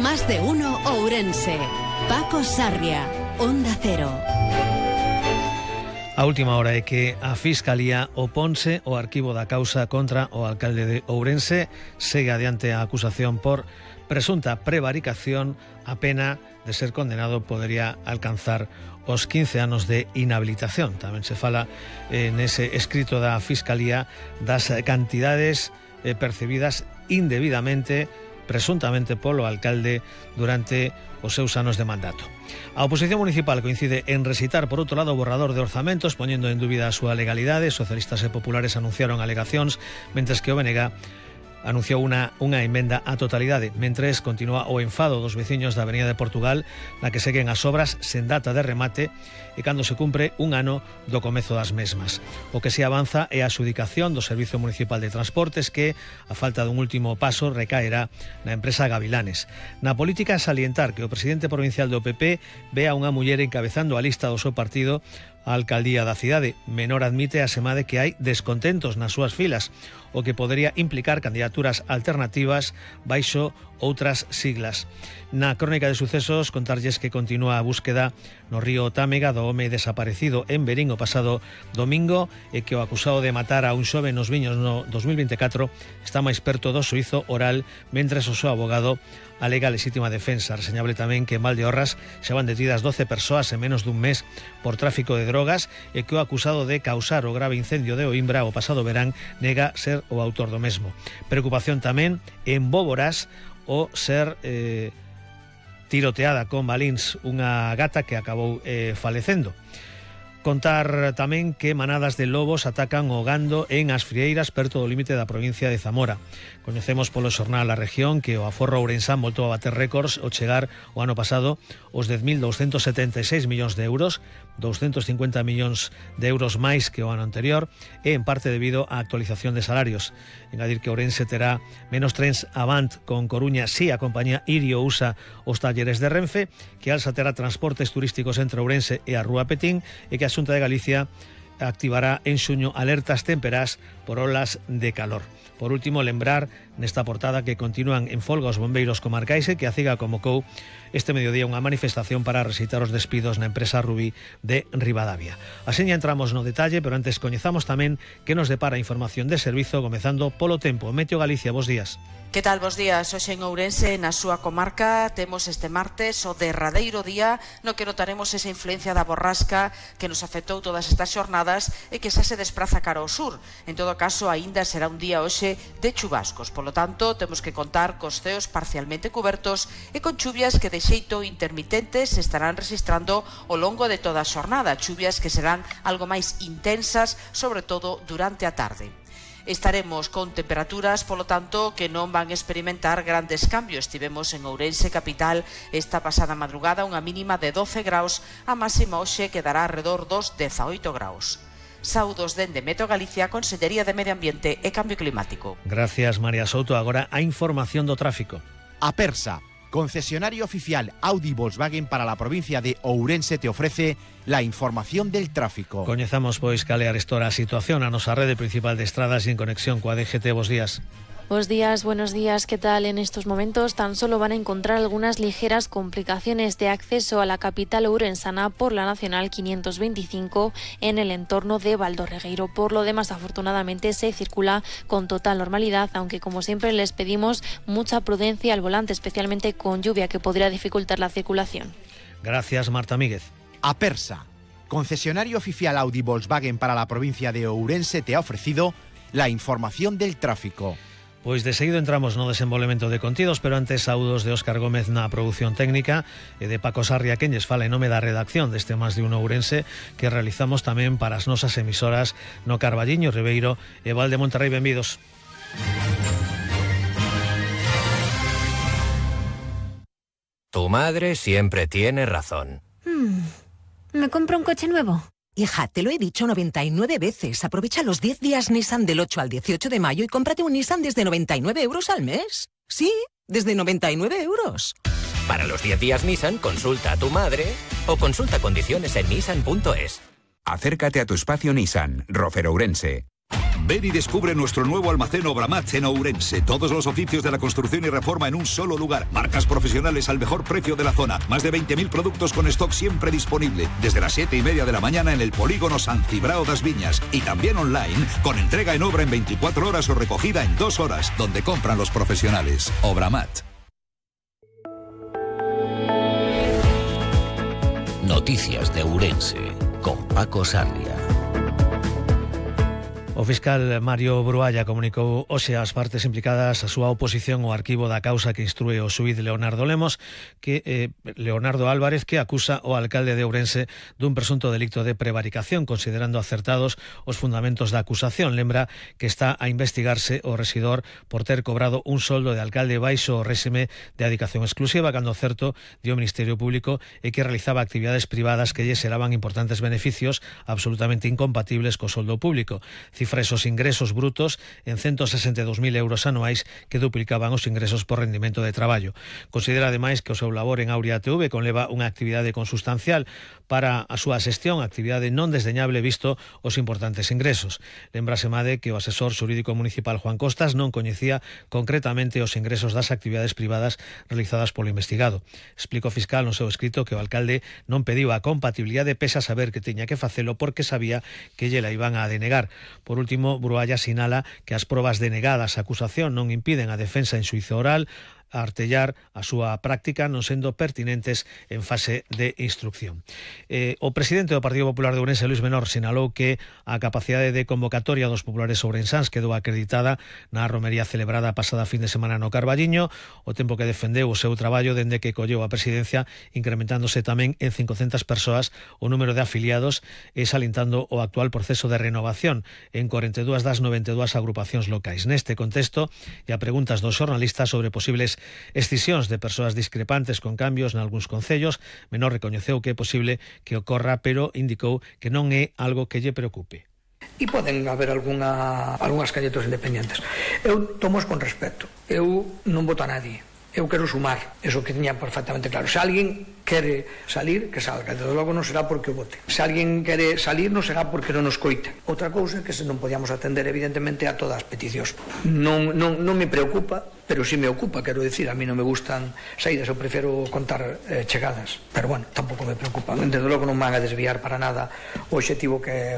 Más de uno Ourense. Paco Sarria, Onda Cero. A última hora é que a Fiscalía oponse ao arquivo da causa contra o alcalde de Ourense. Segue adiante a acusación por presunta prevaricación. A pena de ser condenado podería alcanzar os 15 anos de inhabilitación. Tamén se fala nese escrito da Fiscalía das cantidades percibidas indebidamente, presuntamente polo alcalde durante os seus anos de mandato. A oposición municipal coincide en recitar por outro lado o borrador de orzamentos, poñendo en dúbida a súa legalidade. Socialistas e populares anunciaron alegacións, mentres que o BNG anunciou unha emenda á totalidade. Mentres continúa o enfado dos veciños da Avenida de Portugal, na que seguen as obras sen data de remate e cando se cumpre un ano do comezo das mesmas. O que se avanza é a adxudicación do Servicio Municipal de Transportes, que, a falta dun último paso, recaerá na empresa Gavilanes. Na política, salientar que o presidente provincial do PP ve a unha muller encabezando a lista do seu partido a alcaldía da cidade. Menor admite a semade que hai descontentos nas súas filas, o que podería implicar candidaturas alternativas baixo outras siglas. Na crónica de sucesos, contarlles que continúa a búsqueda no río Támega do home desaparecido en Verín o pasado domingo e que o acusado de matar a un xove nos Viños no 2024 está máis perto do xuízo oral, mentres o seu abogado alega legítima defensa. Reseñable tamén que en Valdeorras xa van detidas 12 persoas en menos dun mes por tráfico de drogas e que o acusado de causar o grave incendio de Oimbra o pasado verán nega ser o autor do mesmo. Preocupación tamén en Bóboras o ser tiroteada con balíns unha gata que acabou falecendo. Contar tamén que manadas de lobos atacan o gando en As Frieiras, perto do límite da provincia de Zamora. Coñecemos polo xornal A Región que o aforro ourensán voltou a bater récords ao chegar o ano pasado os 10.276 millóns de euros, 250 millóns de euros máis que o ano anterior, e en parte debido á actualización de salarios. Engadir que Ourense terá menos trens Avant con Coruña si a compañía Irio usa os talleres de Renfe, que Alsa terá transportes turísticos entre Ourense e a Rúa Petín, e que a Xunta de Galicia activará en xuño alertas temperás por olas de calor. Por último, lembrar nesta portada que continúan en folga os bombeiros comarcais e que a CIGA convocou este mediodía unha manifestación para rexeitar os despidos na empresa Rubí de Ribadavia. Así ya entramos no detalle, pero antes coñezamos tamén que nos depara a información de servizo, comezando polo tempo. Meteo Galicia, bos días. Que tal, bos días? Hoxe en Ourense, na súa comarca, temos este martes o derradeiro día no que notaremos esa influencia da borrasca que nos afectou todas estas xornadas e que xa se despraza cara ao sur. En todo caso, aínda será un día hoxe de chubascos. Polo tanto, temos que contar cos ceos parcialmente cubertos e con chuvias que de xeito intermitentes se estarán registrando ao longo de toda a xornada. Chuvias que serán algo máis intensas, sobre todo durante a tarde. Estaremos con temperaturas, polo tanto, que non van experimentar grandes cambios. Tivemos en Ourense capital esta pasada madrugada unha mínima de 12 graus, a máxima hoxe quedará alrededor dos 18 graus. Saudos dende Meteo Galicia, Consellería de Medio Ambiente e Cambio Climático. Gracias, María Souto. Agora a información do tráfico. Apersa, concesionario oficial Audi Volkswagen para la provincia de Ourense, te ofrece la información del tráfico. Coñezamos pois cal é a situación a nosa rede principal de estradas e en conexión coa DGT. Bos días. Buenos días, ¿qué tal? En estos momentos tan solo van a encontrar algunas ligeras complicaciones de acceso a la capital ourensana por la Nacional 525 en el entorno de Valdorregueiro. Por lo demás, afortunadamente, se circula con total normalidad, aunque como siempre les pedimos mucha prudencia al volante, especialmente con lluvia que podría dificultar la circulación. Gracias, Marta Míguez. Apersa, concesionario oficial Audi Volkswagen para la provincia de Ourense, te ha ofrecido la información del tráfico. Pois de seguido entramos no desenvolvemento de contidos, pero antes saúdos de Óscar Gómez na produción técnica e de Paco Sarria, quen lles fala en nome da redacción deste Más de Uno Ourense, que realizamos tamén para as nosas emisoras no Carballiño, Ribeiro e Val de Monterrey. Benvidos. Tu madre siempre tiene razón. ¿Me compro un coche nuevo? Hija, te lo he dicho 99 veces. Aprovecha los 10 días Nissan del 8 al 18 de mayo y cómprate un Nissan desde 99 euros al mes. Sí, desde 99 euros. Para los 10 días Nissan, consulta a tu madre o consulta condiciones en nissan.es. Acércate a tu espacio Nissan, Rofer Ourense. Ven y descubre nuestro nuevo almacén Obramat en Ourense. Todos los oficios de la construcción y reforma en un solo lugar. Marcas profesionales al mejor precio de la zona. Más de 20.000 productos con stock siempre disponible. Desde las 7:30 de la mañana en el polígono San Cibrao das Viñas. Y también online, con entrega en obra en 24 horas o recogida en 2 horas, donde compran los profesionales. Obramat. Noticias de Ourense, con Paco Sarria. O fiscal Mario Brualla comunicou hoxe ás partes implicadas a súa oposición ao arquivo da causa que instrúe o xuíz Leonardo Lemos, Leonardo Álvarez, que acusa o alcalde de Ourense dun presunto delicto de prevaricación, considerando acertados os fundamentos da acusación. Lembra que está a investigarse o rexidor por ter cobrado un soldo de alcalde baixo o réxime de adicación exclusiva, cando certo dio o Ministerio Público e que realizaba actividades privadas que lle xeraban importantes beneficios absolutamente incompatibles co soldo público. Cifra esos ingresos brutos en 162.000 euros anuais que duplicaban os ingresos por rendimento de traballo. Considera ademais que o seu labor en Aurea TV conleva unha actividade consustancial para a súa xestión, actividade non desdeñable visto os importantes ingresos. Lembrase made que o asesor xurídico municipal Juan Costas non coñecía concretamente os ingresos das actividades privadas realizadas polo investigado. Explica o fiscal no seu escrito que o alcalde non pediu a compatibilidade pese a saber que tiña que facelo porque sabía que lle la iban a denegar. Por último, Brualla sinala que as probas denegadas á acusación non impiden a defensa en xuízo oral a artellar a súa práctica non sendo pertinentes en fase de instrucción. O presidente do Partido Popular de Ourense, Luis Menor, sinalou que a capacidade de convocatoria dos populares ourensáns quedou acreditada na romería celebrada a pasada fin de semana no Carballiño, o tempo que defendeu o seu traballo dende que colleu a presidencia, incrementándose tamén en 500 persoas o número de afiliados e salintando o actual proceso de renovación en 42 das 92 agrupacións locais. Neste contexto, e a preguntas dos xornalistas sobre posibles escisións de persoas discrepantes con cambios nalgúns concellos, Menor recoñeceu que é posible que ocorra, pero indicou que non é algo que lle preocupe. E poden haber algunhas candidatos independentes. Eu tomo con respeto. Eu non voto a nadie. Eu quero sumar, eso que tiña perfectamente claro. Se alguén quere salir, que salga. Desde logo non será porque o vote. Se alguén quere salir, non será porque non nos coite. Outra cousa é que non podíamos atender evidentemente a todas as peticións. Non me preocupa, pero sí me ocupa, quero decir, a mí non me gustan saídas, eu prefiro contar chegadas, pero bueno, tampouco me preocupa. Desde logo non van a desviar para nada o obxectivo que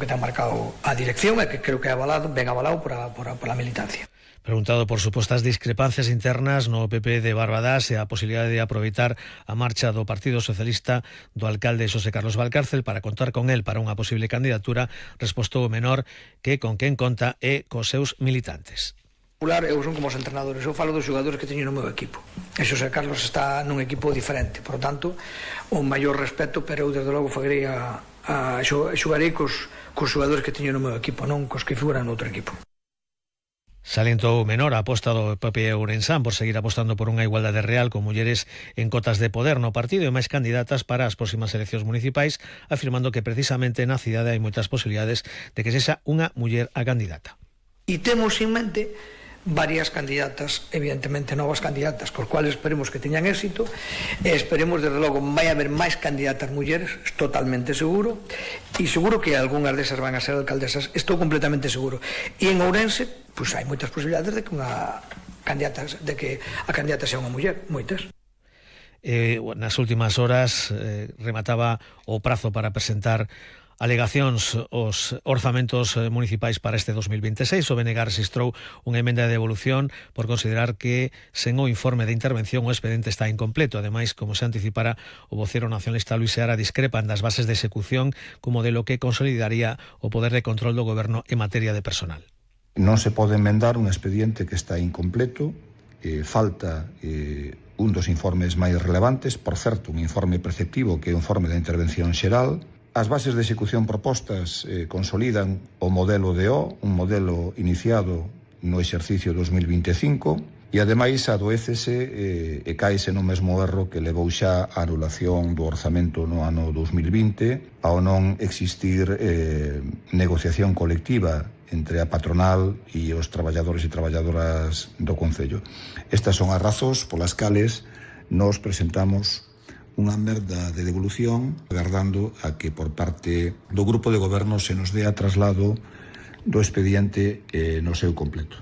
ten marcado a dirección e que creo que é ben avalado pola militancia. Preguntado por supostas discrepancias internas no PP de Barbadas e a posibilidade de aproveitar a marcha do Partido Socialista do alcalde Xosé Carlos Valcárcel para contar con el para unha posible candidatura, respostou o Menor que con quen conta é cos seus militantes. Eu son como os entrenadores, eu falo dos xogadores que teño no meu equipo. E Xosé Carlos está nun equipo diferente, por tanto, o maior respeto, pero eu desde logo xogarei cos xogadores que teño no meu equipo, non cos que figuran no outro equipo. Salientou Menor a aposta do PP ourensán por seguir apostando por unha igualdade real con mulleres en cotas de poder no partido e máis candidatas para as próximas eleccións municipais, afirmando que precisamente na cidade hai moitas posibilidades de que sexa unha muller a candidata. E temos en mente varias candidatas, evidentemente novas candidatas, cos cuales esperemos que teñan éxito, e esperemos, desde logo, vai haber máis candidatas mulleres, totalmente seguro, e seguro que algunhas desas van a ser alcaldesas, estou completamente seguro. E en Ourense, pois hai moitas posibilidades de que a candidata sea unha muller, moitas. Nas últimas horas remataba o prazo para presentar alegacións os orzamentos municipais para este 2026. O BNG registrou unha emenda de devolución por considerar que sen o informe de intervención o expediente está incompleto. Ademais, como se anticipara, o vocero nacionalista Luis Seara discrepan das bases de execución como modelo que consolidaría o poder de control do goberno en materia de personal. Non se pode emendar un expediente que está incompleto, falta un dos informes máis relevantes, por certo, un informe preceptivo que é un informe de intervención xeral. As bases de execución propostas consolidan o modelo DO, un modelo iniciado no exercicio 2025, e ademais adoécese e caese no mesmo erro que levou xa a anulación do orzamento no ano 2020 ao non existir negociación colectiva entre a patronal e os traballadores e traballadoras do Concello. Estas son as razóns polas cales nos presentamos unha merda de devolución, agardando a que por parte do grupo de goberno se nos dé a traslado do expediente no seu completo.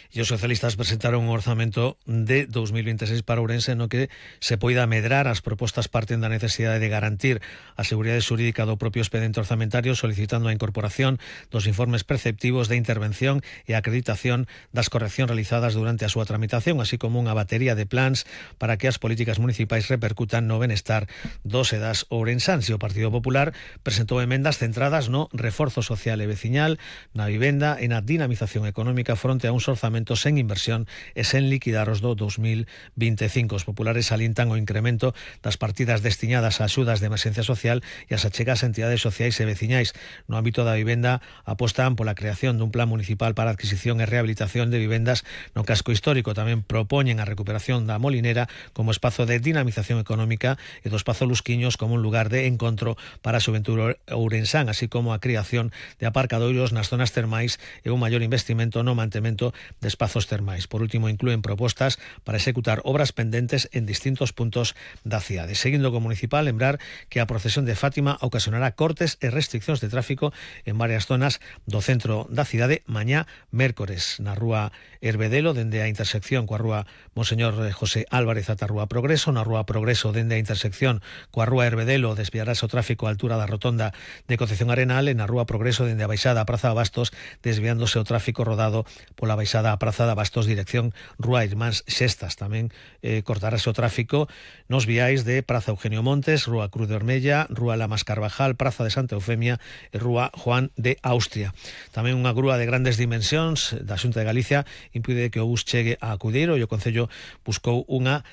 E os socialistas presentaron un orzamento de 2026 para Ourense no que se poida medrar. As propostas parten da necesidade de garantir a seguridade xurídica do propio expediente orzamentario, solicitando a incorporación dos informes preceptivos de intervención e acreditación das correccións realizadas durante a súa tramitación, así como unha batería de plans para que as políticas municipais repercutan no benestar dos e das ourensáns. E o Partido Popular presentou emendas centradas no reforzo social e veciñal, na vivenda e na dinamización económica fronte a uns orzamentos sen inversión e sen liquidar os do 2025. Os populares salientan o incremento das partidas destinadas a axudas de emerxencia social e as achegas a entidades sociais e veciñais. No ámbito da vivenda apostan pola creación dun plan municipal para a adquisición e rehabilitación de vivendas no casco histórico. Tamén propoñen a recuperación da Molinera como espazo de dinamización económica e do espazo Lusquiños como un lugar de encontro para a xuventude ourensán, así como a creación de aparcadoiros nas zonas termais e un maior investimento no mantemento de espazos termais. Por último, inclúen propostas para executar obras pendentes en distintos puntos da cidade. Seguindo co municipal, lembrar que a procesión de Fátima ocasionará cortes e restriccións de tráfico en varias zonas do centro da cidade mañá mércores. Na rúa Herbedelo, dende a intersección coa rúa Monseñor José Álvarez ata a rúa Progreso. Na rúa Progreso, dende a intersección coa rúa Herbedelo, desviarase o tráfico á altura da rotonda de Concepción Arenal. E na rúa Progreso, dende a baixada a Praza Bastos, desviándose o tráfico rodado pola baixada a Praza da Bastos, dirección Rúa Irmáns Xestas. Tamén cortarase o tráfico nos viais de Praza Eugenio Montes, Rúa Cruz de Ormella, Rúa Lamas Carvajal, Praza de Santa Eufemia e Rúa Juan de Austria. Tamén unha grúa de grandes dimensións da Xunta de Galicia impide que o bus chegue a Cudeiro e o Concello buscou unha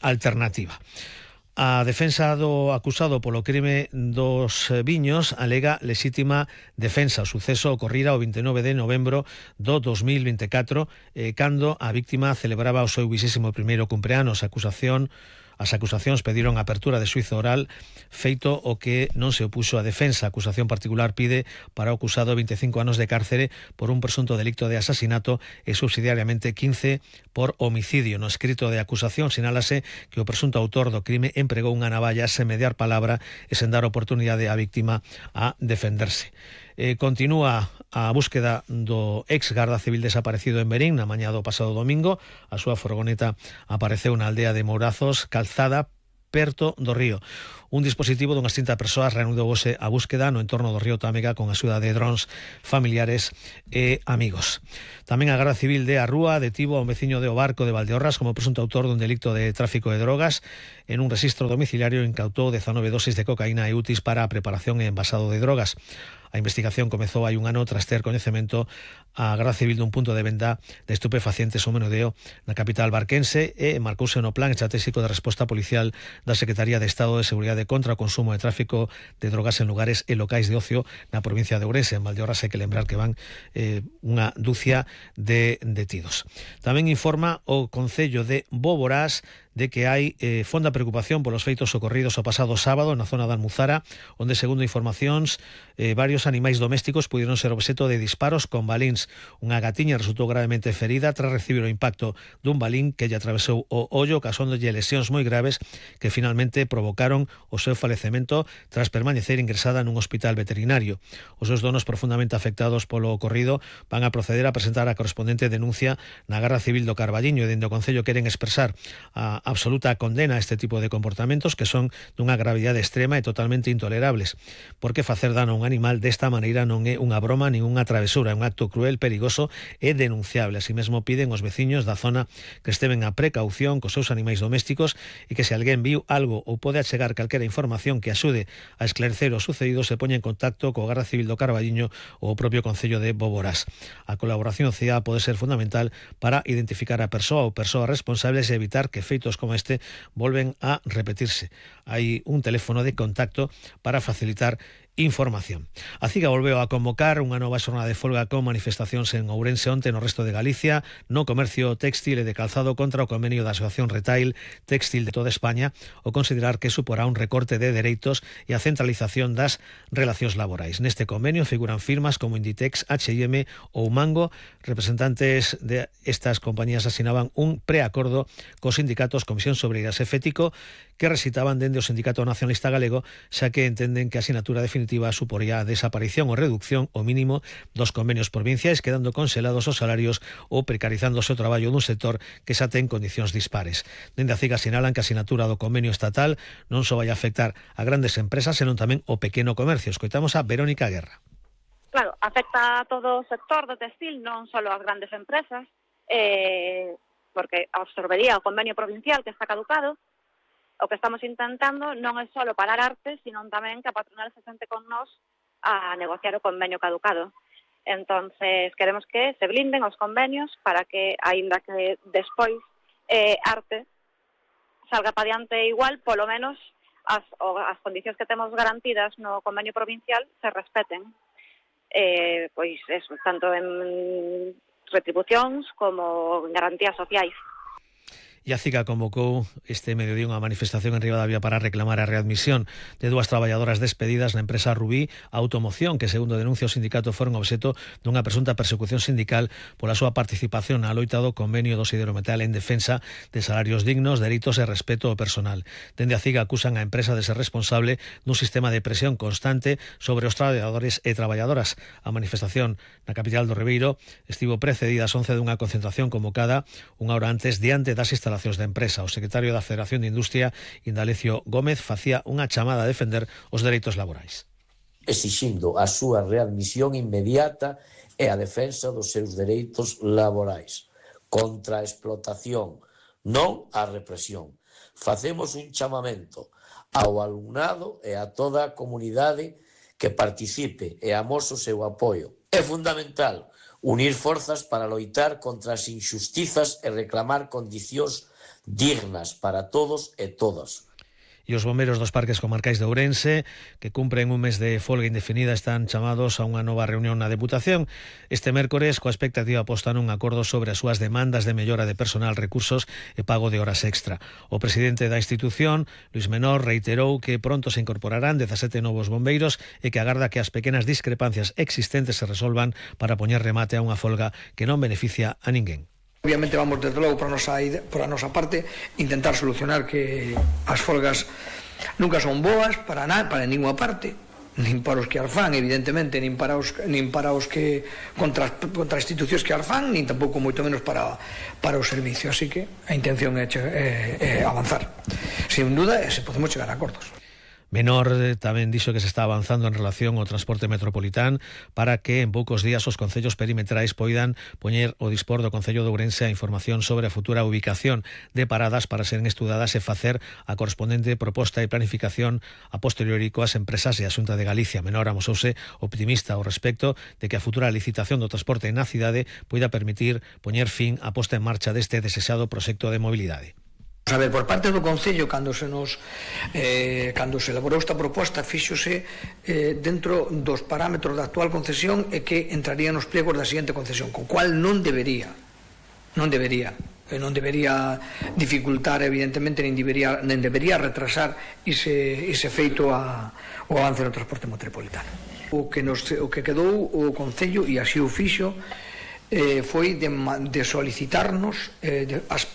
alternativa. A defensa do acusado polo crime dos viños alega lexítima defensa. O suceso ocorrira o 29 de novembro do 2024, cando a víctima celebraba o seu 21º cumpleanos. As acusacións pediron a apertura de xuízo oral, feito o que non se opuxo a defensa. A acusación particular pide para o acusado 25 anos de cárcere por un presunto delicto de asasinato e subsidiariamente 15 por homicidio. No escrito de acusación sinálase que o presunto autor do crime empregou unha navalla sen mediar palabra e sen dar oportunidade á víctima a defenderse. Continúa a búsqueda do ex garda civil desaparecido en Berín na mañá do pasado domingo. A súa furgoneta apareceu na aldea de Mourazos, Calzada, perto do río. Un dispositivo dunhas 30 persoas reanudouse a búsqueda no entorno do río Támega con a axuda de drons familiares e amigos. Tamén a Garda Civil de Arrúa detivo a un veciño de O Barco de Valdeorras como presunto autor dun delicto de tráfico de drogas. En un rexistro domiciliario incautou 19 dosis de cocaína e útiles para a preparación e envasado de drogas. A investigación comezou hai un ano tras ter coñecemento a Garda Civil dun punto de venda de estupefacientes ou menudeo na capital barquense e marcouse no plan estratégico de resposta policial da Secretaría de Estado de Seguridade contra o consumo e tráfico de drogas en lugares e locais de ocio na provincia de Ourense. En Valdeorras hai que lembrar que van unha dúcia de detidos. Tamén informa o Concello de Boborás de que hai fonda preocupación polos feitos ocorridos o pasado sábado na zona da Almuzara, onde, segundo informacións, varios animais domésticos pudieron ser obxeto de disparos con balíns. Unha gatiña resultou gravemente ferida tras recibir o impacto dun balín que lle atravesou o ollo, causándolle lesións moi graves que finalmente provocaron o seu falecemento tras permanecer ingresada nun hospital veterinario. Os seus donos, profundamente afectados polo ocorrido, van a proceder a presentar a correspondente denuncia na Garda Civil do Carballiño, e dende o Concello queren expresar a absoluta condena a este tipo de comportamentos que son dunha gravidade extrema e totalmente intolerables, porque facer dano a un animal desta maneira non é unha broma nin unha travesura, é un acto cruel, perigoso e denunciable. Así mesmo piden aos veciños da zona que esteven a precaución cos seus animais domésticos e que se alguén viu algo ou pode achegar calquera información que axude a esclarecer o sucedido se poña en contacto co Garda Civil do Carballiño ou o propio Concello de Boborás. A colaboración cidadá pode ser fundamental para identificar a persoa ou persoas responsables e evitar que feitos como este volven a repetirse. Hai un teléfono de contacto para facilitar información. A CIGA volveu a convocar unha nova xornada de folga con manifestacións en Ourense onte no resto de Galicia, no comercio téxtil e de calzado contra o convenio da Asociación Retail Téxtil de toda España, o considerar que suporá un recorte de dereitos e a centralización das relacións laborais. Neste convenio figuran firmas como Inditex, H&M ou Mango. Representantes de estas compañías asinaban un preacordo cos sindicatos Comisión Sobreiras e Fético, que recitaban dende o Sindicato Nacionalista Galego, xa que entenden que a asinatura definitiva definitiva suporía a desaparición ou reducción o mínimo dos convenios provinciais, quedando conselados os salarios ou precarizándose o traballo dun sector que xa ten condicións dispares. Dende a CIGA sinalan que a sinatura do convenio estatal non só vai afectar a grandes empresas, senón tamén o pequeno comercio. Escoitamos a Verónica Guerra. Claro, afecta a todo o sector do textil, non só as grandes empresas, porque absorbería o convenio provincial que está caducado. O que estamos intentando non é só parar arte, sino tamén que a patronal se sente con nós a negociar o convenio caducado. Entonces, queremos que se blinden os convenios para que, aínda que despois arte salga pa diante igual, polo menos as condicións que temos garantidas no convenio provincial se respeten. Pois eso, tanto en retribucións como en garantías sociais. E a CIGA convocou este mediodía unha manifestación en Ribadavia para reclamar a readmisión de dúas traballadoras despedidas na empresa Rubí Automoción, que segundo denuncia o sindicato foron obxecto dunha presunta persecución sindical pola súa participación na loita do convenio do Siderometal en defensa de salarios dignos, dereitos e respeto ao personal. Dende a CIGA acusan a empresa de ser responsable dun sistema de presión constante sobre os traballadores e traballadoras. A manifestación na capital do Ribeiro estivo precedida ás 11 dunha concentración convocada unha hora antes diante das instalacións da empresa. O secretario da Federación de Industria, Indalecio Gómez, facía unha chamada a defender os dereitos laborais. Exixindo a súa readmisión inmediata e a defensa dos seus dereitos laborais. Contra a explotación, non a represión. Facemos un chamamento ao alumnado e a toda a comunidade que participe e amose o seu apoio. É fundamental unir forzas para loitar contra as injustizas e reclamar condicións dignas para todos e todas. E os bombeiros dos parques comarcais de Ourense, que cumpren un mes de folga indefinida, están chamados a unha nova reunión na Deputación este mércores coa expectativa posta nun acordo sobre as súas demandas de mellora de personal, recursos e pago de horas extra. O presidente da institución, Luís Menor, reiterou que pronto se incorporarán 17 novos bombeiros e que agarda que as pequenas discrepancias existentes se resolvan para poñer remate a unha folga que non beneficia a ninguén. Obviamente vamos desde logo por a nosa parte intentar solucionar que as folgas nunca son boas para ninguna parte, nin para os que as fan, evidentemente, nin para os que contra as institucións que as fan, nin tampouco moito menos para o servicio. Así que a intención é avanzar. Sin duda, se podemos chegar a acordos. Menor tamén dixo que se está avanzando en relación ao transporte metropolitán para que en poucos días os concellos perimetrais poidan poñer o dispor do Concello de Ourense a información sobre a futura ubicación de paradas para seren estudadas e facer a correspondente proposta e planificación a posteriori coas empresas e a Xunta de Galicia. Menor amosouse optimista ao respecto de que a futura licitación do transporte na cidade poida permitir poñer fin á posta en marcha deste desexado proxecto de mobilidade. A ver, por parte do Concello, cando se elaborou esta proposta, fíxose dentro dos parámetros da actual concesión e que entraría nos pliegos da seguinte concesión, co cual non debería dificultar, evidentemente, nin debería retrasar ese feito o avance no transporte metropolitano. O que quedou o Concello, e así o fixo, foi de solicitarnos as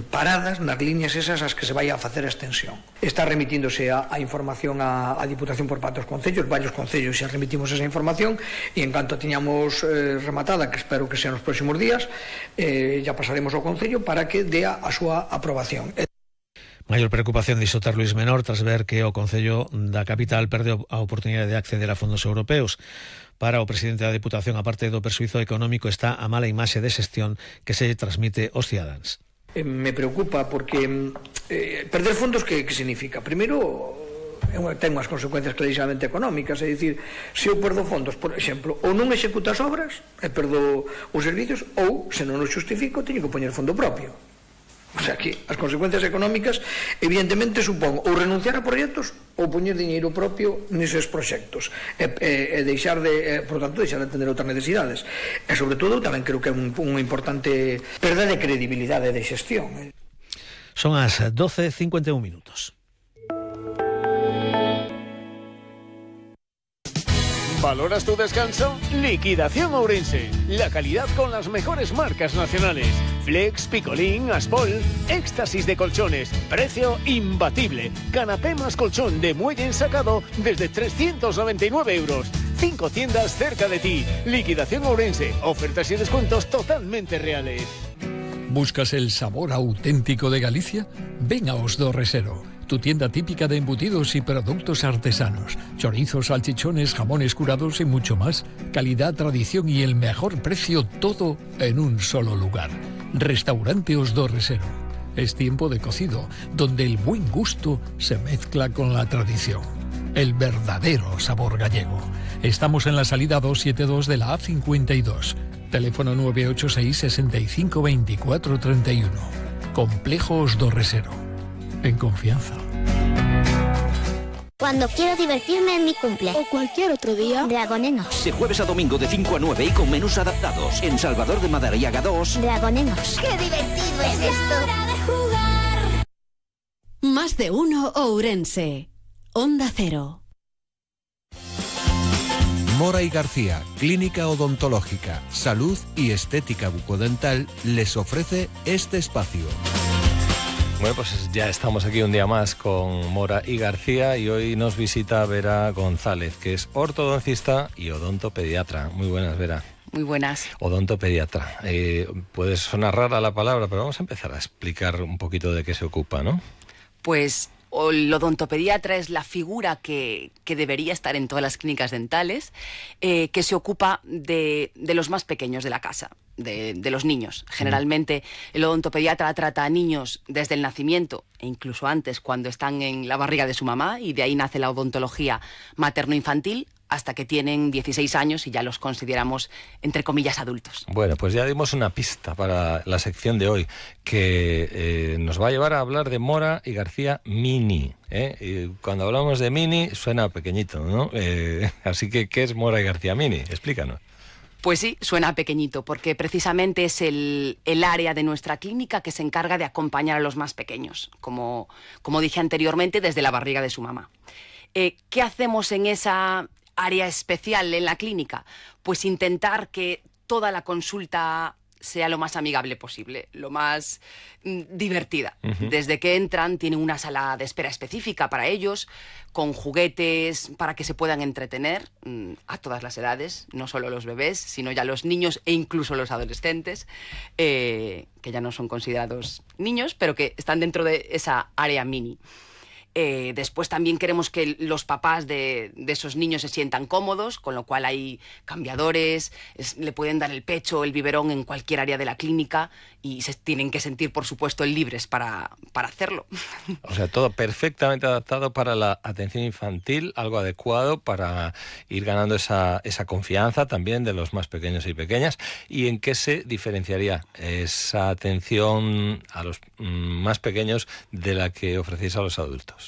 paradas nas líneas esas as que se vai a facer a extensión. Está remitíndose a información a Diputación por parte dos concellos, varios concellos xa remitimos esa información, e en canto tiñamos rematada, que espero que sean nos próximos días, ya pasaremos ao Concello para que dea a súa aprobación. Maior preocupación dixo ter Luís Menor tras ver que o Concello da capital perdeu a oportunidade de acceder a fondos europeos. Para o presidente da Deputación, a parte do persuizo económico, está a mala imaxe de xestión que se transmite aos cidadáns. Me preocupa porque perder fondos que significa? Primeiro, ten unhas consecuencias clarísimamente económicas, é dicir, se eu perdo fondos, por exemplo, ou non executo as obras e perdo os servicios, ou, se non o xustifico, teño que poñer fondo propio. O sea que as consecuencias económicas evidentemente supón ou renunciar a proxectos ou poñer diñeiro propio neses proxectos e deixar de, por tanto, deixar de atender outras necesidades. E sobre todo tamén creo que é unha importante perda de credibilidade de xestión. Son as 12:51 minutos. ¿Valoras tu descanso? Liquidación Ourense. La calidad con las mejores marcas nacionales. Flex, Picolín, Aspol, éxtasis de colchones. Precio imbatible. Canapé más colchón de muelle ensacado desde 399 euros. 5 tiendas cerca de ti. Liquidación Ourense. Ofertas y descuentos totalmente reales. ¿Buscas el sabor auténtico de Galicia? Ven a Os do Resero, tu tienda típica de embutidos y productos artesanos. Chorizos, salchichones, jamones curados y mucho más. Calidad, tradición y el mejor precio, todo en un solo lugar. Restaurante Os do Resero. Es tiempo de cocido, donde el buen gusto se mezcla con la tradición. El verdadero sabor gallego. Estamos en la salida 272 de la A52. Teléfono 986 65 24 31. Complejo Os do Resero. En confianza. Cuando quiero divertirme en mi cumple o cualquier otro día, Dragonenos. De jueves a domingo de 5 a 9 y con menús adaptados. En Salvador de Madariaga 2. Dragonenos. ¡Qué divertido es esto! ¡Hora de jugar! Más de uno Ourense. Onda Cero. Mora y García, Clínica Odontológica, Salud y Estética Bucodental, les ofrece este espacio. Bueno, pues ya estamos aquí un día más con Mora y García y hoy nos visita Vera González, que es ortodoncista y odontopediatra. Muy buenas, Vera. Muy buenas. Odontopediatra. Puede sonar rara la palabra, pero vamos a empezar a explicar un poquito de qué se ocupa, ¿no? Pues el odontopediatra es la figura que debería estar en todas las clínicas dentales, que se ocupa de los más pequeños de la casa, de los niños. Generalmente el odontopediatra trata a niños desde el nacimiento e incluso antes, cuando están en la barriga de su mamá, y de ahí nace la odontología materno-infantil, hasta que tienen 16 años y ya los consideramos, entre comillas, adultos. Bueno, pues ya dimos una pista para la sección de hoy, que nos va a llevar a hablar de Mora y García Mini. Y cuando hablamos de Mini suena pequeñito, ¿no? Así que, ¿qué es Mora y García Mini? Explícanos. Pues sí, suena pequeñito, porque precisamente es el área de nuestra clínica que se encarga de acompañar a los más pequeños, como dije anteriormente, desde la barriga de su mamá. ¿Qué hacemos en esa área especial en la clínica? Pues intentar que toda la consulta sea lo más amigable posible, lo más divertida. Desde que entran tienen una sala de espera específica para ellos, con juguetes para que se puedan entretener a todas las edades, no solo los bebés, sino ya los niños e incluso los adolescentes, que ya no son considerados niños, pero que están dentro de esa área mini. Después también queremos que los papás de esos niños se sientan cómodos, con lo cual hay cambiadores, le pueden dar el pecho, el biberón en cualquier área de la clínica y se tienen que sentir, por supuesto, libres para hacerlo. O sea, todo perfectamente adaptado para la atención infantil, algo adecuado para ir ganando esa confianza también de los más pequeños y pequeñas. ¿Y en qué se diferenciaría esa atención a los más pequeños de la que ofrecéis a los adultos?